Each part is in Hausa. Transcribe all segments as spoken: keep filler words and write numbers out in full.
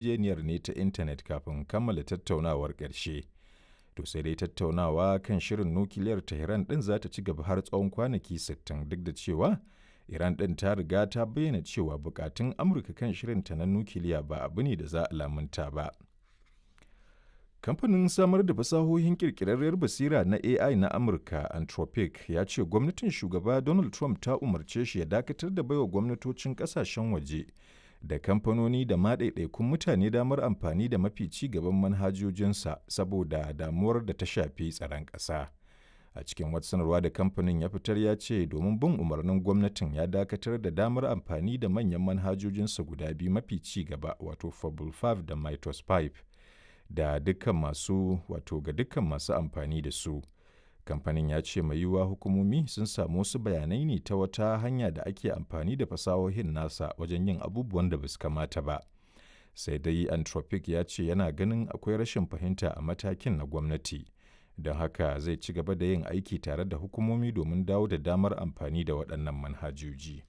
yarjejeniyar ne ta intanet kafin kammala tattaunawar ƙarshe. To sai dai tattaunawa kan shirin nukiliyar Tehran ɗin za ta ci gaba har tsawon kwanaki sittin duk da cewa Iran ɗin ta riga ta bayyana cewa bukatun Amurka kan shirinta na nukiliya ba abu ne da za a lamunta ba. Kamfanin samar da fasahohin ƙirƙirarriyar basira na A I na Amurka, Anthropic, ya ce gwamnatin Shugaba Donald Trump ta umarce shi ya dakatar da baiwa gwamnatocin ƙasashen waje da kamfanoni da ma ɗaiɗaikun mutane damar amfani da mafi ci gaban manhajojinsa saboda damuwar da ta shafi tsaron ƙasa. A cikin wata sanarwa da kamfanin ya fitar ya ce domin bin umarnin gwamnatin ya dakatar da damar amfani da manyan manhajojinsa guda biyu mafi ci gaba, wato Fable biyar da Mythos biyar, da dukkan masu wato ga dukkan masu amfani da su. Kamfanin ya ce mai yiwuwa hukumomi sun samu wasu bayanai ne ta wata hanya da ake amfani da fasahohin nasa wajen yin abubuwan da basu kamata ba. Sai dai Anthropic ya ce yana ganin akwai rashin fahimta a matakin na gwamnati. Don haka zai ci gaba da yin aiki tare da hukumomi domin dawo da damar amfani da waɗannan manhajoji.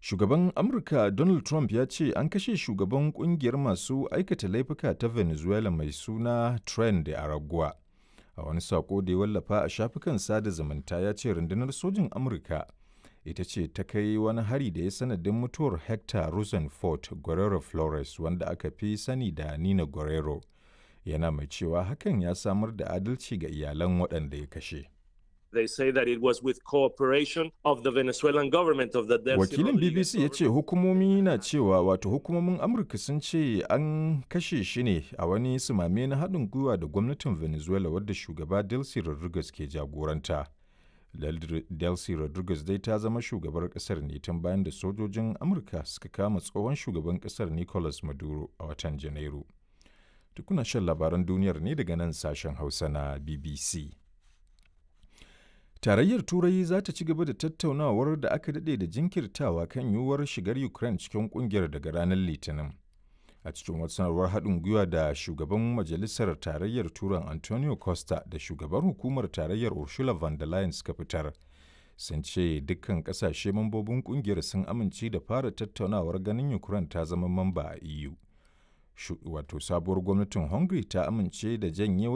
Shugaban Amurka Donald Trump ya ce an kashe shugaban kungiyar masu aikata laifuka ta Venezuela mai suna Tren de Aragua. A wani sako da ya wallafa a shafukan sada zumunta ya ce rundunar sojin Amurka ita ce ta kai wani hari da ya sanadin mutuwar Hector Rosenfort Guerrero Flores, wanda aka fi sani da Nina Guerrero. Yana mai cewa hakan ya samar da adalci ga iyalan waɗanda ya kashe. They say that it was with cooperation of the Venezuelan government of the Delcy Wakilin Rodriguez B B C ya ce hukumomi na cewa, wato hukumomin Amurka sun ce an kashe shi ne a wani sumame na haɗin gwiwa da gwamnatin Venezuela wadda shugaba Delcy Rodriguez ke jagoranta. Delcy Rodriguez dai ta zama shugabar ƙasar ne tun bayan da sojojin Amurka suka kama tsohon shugaban ƙasar Nicolas Maduro a watan Janairu. Tukuna shan labaran duniyar ne daga nan sashen Hausa na B B C. Tarayyar Turai za ta ci gaba da tattaunawar da aka daɗe da jinkirtawa kan yiwuwar shigar Ukraine cikin ƙungiyar daga ranar Litinin. A cikin wata sanarwar haɗin gwiwa da shugaban Majalisar Tarayyar Turan Antonio Costa da shugaban hukumar Tarayyar Ursula von der Leyen suka fitar, sun ce dukkan ƙasashe mambobin ƙungiyar sun amince da fara tattaunawar ganin Ukraine ta zama mamba a E U. Wato sabuwar gwamnatin Hungary ta amince da janye